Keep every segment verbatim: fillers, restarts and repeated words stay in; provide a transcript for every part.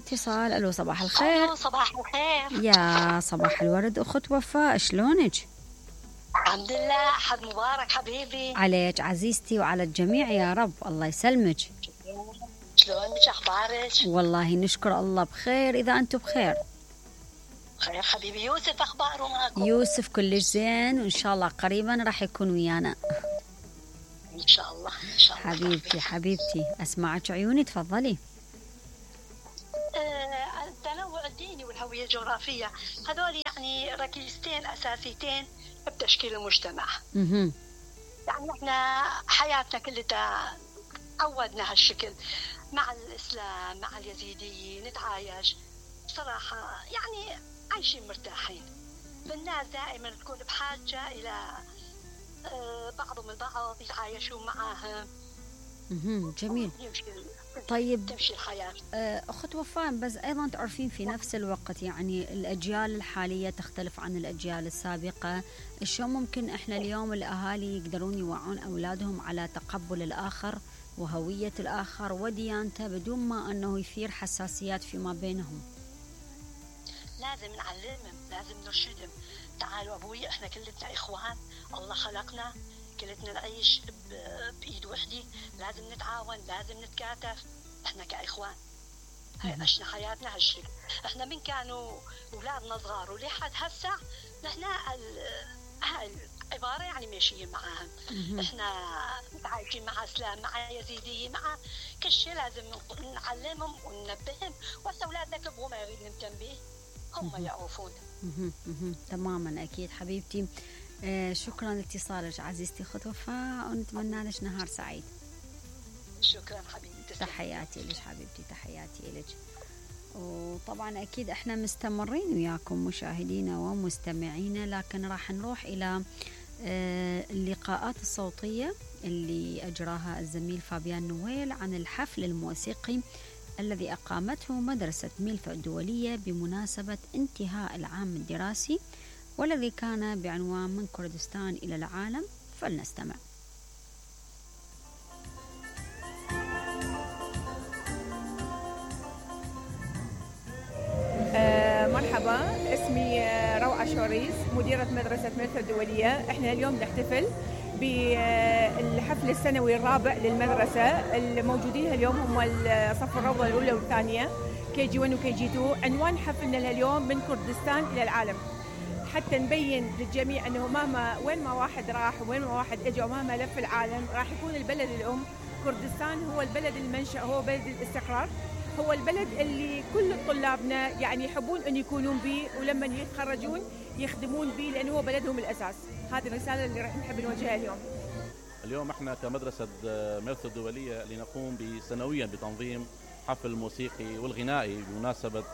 اتصال. الو صباح الخير. الو صباح الخير. يا صباح الورد اخت وفاء، شلونك؟ الحمد لله. حد مبارك حبيبي عليك عزيزتي وعلى الجميع يا رب. الله يسلمك. شلونك؟ اخبارك؟ والله نشكر الله بخير. اذا انتم بخير خير حبيبي. يوسف اخباره معكم؟ يوسف كلش زين، وان شاء الله قريبا راح يكون ويانا ان شاء الله. ان شاء الله حبيبتي حبيبتي. اسمعك عيوني، تفضلي. آه، التنوع الديني والهوية الجغرافية هذول يعني ركيزتين أساسيتين بتشكيل المجتمع. اها يعني احنا حياتنا كلها عودنا هالشكل مع الإسلام مع اليزيديين، نتعايش بصراحة يعني عايشين مرتاحين. فالناس دائما تكون بحاجة إلى آه، بعضهم البعض يتعايشون معاهم. اها جميل. يمشي طيب تمشي الحياة. أخت وفاء، بس أيضا تعرفين في نفس الوقت يعني الأجيال الحالية تختلف عن الأجيال السابقة. شلون ممكن إحنا اليوم الأهالي يقدرون يوعون أولادهم على تقبل الآخر وهوية الآخر وديانته بدون ما أنه يثير حساسيات فيما بينهم؟ لازم نعلمهم، لازم نرشدهم. تعالوا أبوي، إحنا كلنا إخوان، الله خلقنا كلنا نعيش بإيد وحدة، لازم نتعاون، لازم نتكاتف، إحنا كإخوان. هاي عشنا حياتنا هالشكل. إحنا من كانوا أولادنا صغار ولحد هسه نحن هاي العبارة يعني ماشيين معاهم. إحنا متعايشين مع إسلام مع يزيديين مع كل شيء، لازم نعلمهم وننبههم. وهسه أولادنا كبروا ما يريد ننتبه، هم يعرفون. تماما أكيد حبيبتي. آه شكرا لاتصالك عزيزتي اخت وفاء، ونتمنى لك نهار سعيد. شكرا حبيبتي. تحياتي لك حبيبتي، تحياتي لك. وطبعا اكيد احنا مستمرين وياكم مشاهدينا ومستمعينا، لكن راح نروح الى آه اللقاءات الصوتيه اللي اجراها الزميل فابيان نويل عن الحفل الموسيقي الذي اقامته مدرسه ميلفا الدوليه بمناسبه انتهاء العام الدراسي، والذي كان بعنوان من كردستان إلى العالم. فلنستمع. آه مرحبا، اسمي روعة شوريس، مديرة مدرسة ميلفا الدولية. احنا اليوم نحتفل بالحفل السنوي الرابع للمدرسة. الموجودين اليوم هم الصف الروضة الأولى والثانية كي جي واحد وكي جي اثنين. عنوان حفلنا اليوم من كردستان إلى العالم، حتى نبين للجميع أنه مهما وين ما واحد راح وين ما واحد اجى ومهما لف العالم راح يكون البلد الأم كردستان هو البلد المنشأ، هو بلد الاستقرار، هو البلد اللي كل طلابنا يعني يحبون أن يكونون به، ولما يتخرجون يخدمون به لأنه هو بلدهم الأساس. هذه الرسالة اللي راح نحب نوجهها اليوم. اليوم احنا كمدرسة ميلفا الدولية لنقوم سنويا بتنظيم حفل موسيقي والغنائي بمناسبة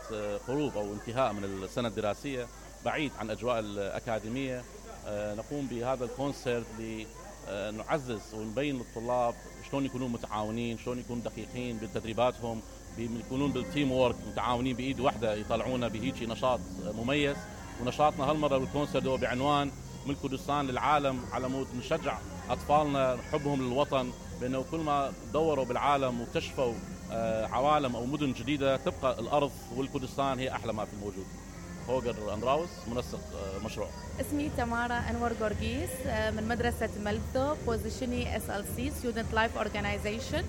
قروب أو انتهاء من السنة الدراسية بعيد عن أجواء الأكاديمية. نقوم بهذا الكونسرت لنعزز ونبين للطلاب شلون يكونون متعاونين، شلون يكونون دقيقين بتدريباتهم، يكونون بالتيم وورك متعاونين بإيد واحدة، يطلعونا بهيجي نشاط مميز. ونشاطنا هالمرة بالكونسرت هو بعنوان من كردستان للعالم، على مود نشجع أطفالنا حبهم للوطن، بأنه كل ما دوروا بالعالم واكتشفوا عوالم أو مدن جديدة تبقى الأرض والكردستان هي أحلى ما في الموجود. هوجر أندراوس، منسق مشروع. اسمي تمارا أنور جورجيس من مدرسة ملثو، بوزيشني اس ال سي Student Life Organization.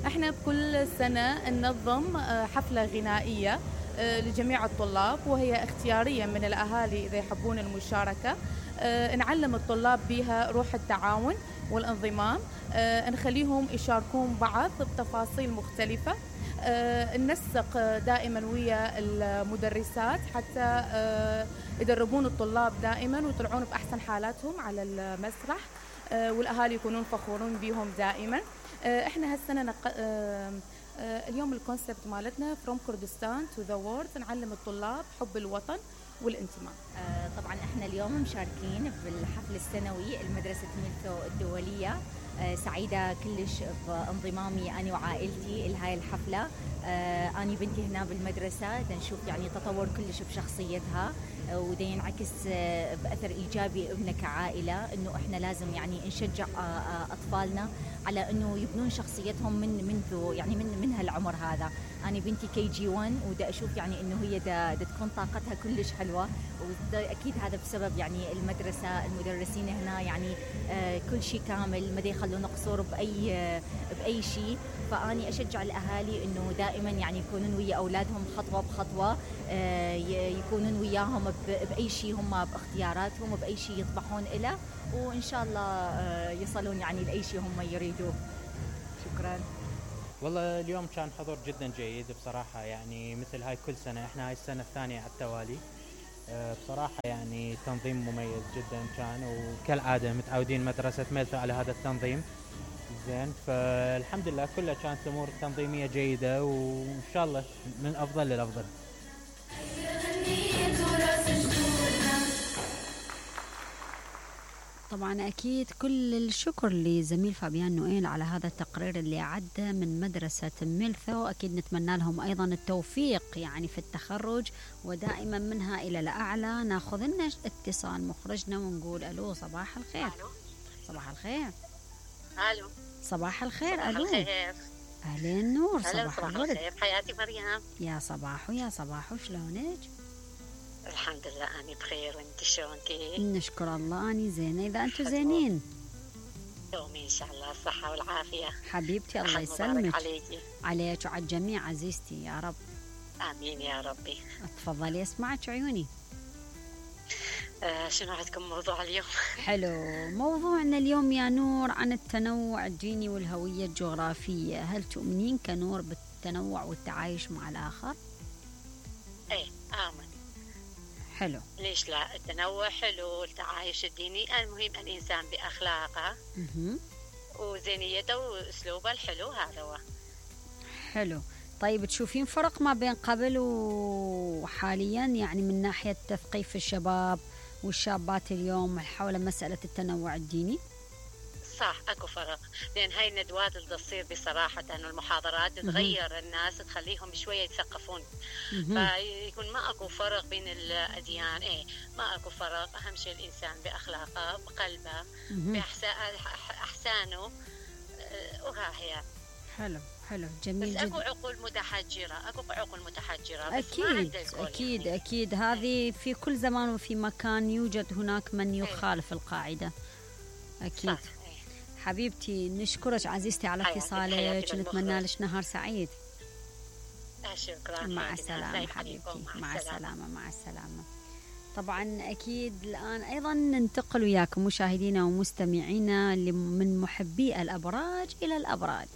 احنا بكل سنة ننظم حفلة غنائية لجميع الطلاب، وهي اختيارية من الأهالي إذا يحبون المشاركة. نعلم الطلاب بها روح التعاون والانضمام، نخليهم يشاركون بعض بتفاصيل مختلفة، ننسق دائما ويا المدرسات حتى يدربون الطلاب دائما ويطلعون بأحسن حالاتهم على المسرح، والأهالي يكونون فخورون بهم دائما. احنا هالسنة نق... اليوم الكونسبت مالتنا From Kurdistan to the World، نعلم الطلاب حب الوطن والانتماء. طبعا احنا اليوم مشاركين بالحفل السنوي المدرسة ميلفا الدولية. سعيدة كلش بانضمامي أنا وعائلتي لهاي الحفلة. أنا بنتي هنا بالمدرسة نشوف يعني تطور كلش بشخصيتها، وده ينعكس بأثر إيجابي إبنا كعائلة، إنه إحنا لازم يعني نشجع أطفالنا على إنه يبنون شخصيتهم من منذ يعني من من هالعمر هذا. أنا بنتي كي جي واحد ودا أشوف يعني إنه هي دا, دا تكون طاقتها كلش حلوة، وده أكيد هذا بسبب يعني المدرسة، المدرسين هنا يعني آه كل شيء كامل، ما دا يخلون قصور بأي آه بأي شيء. فأني أشجع الأهالي إنه دائما يعني يكونون ويا أولادهم خطوة بخطوة، آه يكونون وياهم بأي شيء هم باختياراتهم وبأي شيء يطمحون إليه، وإن شاء الله آه يصلون يعني لأي شيء هم يريدوه. شكرا. والله اليوم كان حضور جدا جيد بصراحة، يعني مثل هاي كل سنة، احنا هاي السنة الثانية على التوالي. أه بصراحة يعني تنظيم مميز جدا كان، وكالعادة متعودين مدرسة ميلثو على هذا التنظيم زين. فالحمد لله كلها كانت الأمور التنظيمية جيدة، وإن شاء الله من أفضل للأفضل. طبعا أكيد كل الشكر لزميل فابيان نويل على هذا التقرير اللي عدى من مدرسة ميلثو. أكيد نتمنى لهم أيضا التوفيق يعني في التخرج، ودائما منها إلى الأعلى. ناخذ لنا اتصال مخرجنا ونقول ألو، صباح الخير. ألو. صباح الخير. ألو. صباح الخير. صباح ألو. الخير. أهلين نور. صباح, صباح الخير. حياتي مريم. يا صباح ويا صباح، شلونك؟ الحمد لله أنا بخير، وانت شلونك؟ نشكر الله أني زينة. إذا أنتم زينين دومي إن شاء الله الصحة والعافية حبيبتي. الله يسلمك. عليكي. عليك وعلى الجميع عزيزتي يا رب. آمين يا ربي. تفضلي اسمعك عيوني. آه شنو عندكم موضوع اليوم؟ حلو. موضوعنا اليوم يا نور عن التنوع الجيني والهوية الجغرافية. هل تؤمنين كنور بالتنوع والتعايش مع الآخر؟ ايه آمن. حلو. ليش لا؟ التنوع حلو، التعايش الديني، المهم الإنسان بأخلاقه مه. وزينيته وأسلوبه الحلو، هذا هو. حلو. طيب تشوفين فرق ما بين قبل وحاليا يعني من ناحية تثقيف الشباب والشابات اليوم حول مسألة التنوع الديني؟ صح، اكو فرق، لان هاي الندوات اللي تصير بصراحه والمحاضرات تغير الناس، تخليهم شويه يتثقفون، فيكون ما اكو فرق بين الاديان. ايه ما اكو فرق، اهم شيء الانسان باخلاقه، بقلبه، باحسانه، وها هي. حلو حلو جميل بس جدا. اكو عقول متحجره، اكو عقول متحجره، بس اكيد اكيد يعني. اكيد هذه في كل زمان وفي مكان يوجد هناك من يخالف ايه. القاعده. اكيد. صح. حبيبتي نشكرك عزيزتي على اتصالك، ونتمنى لك نهار سعيد. شكرا. مع السلامة حبيبتي. مع السلامة. مع السلامة. طبعا أكيد الآن أيضا ننتقل وياكم مشاهدينا ومستمعينا من محبي الأبراج إلى الأبراج.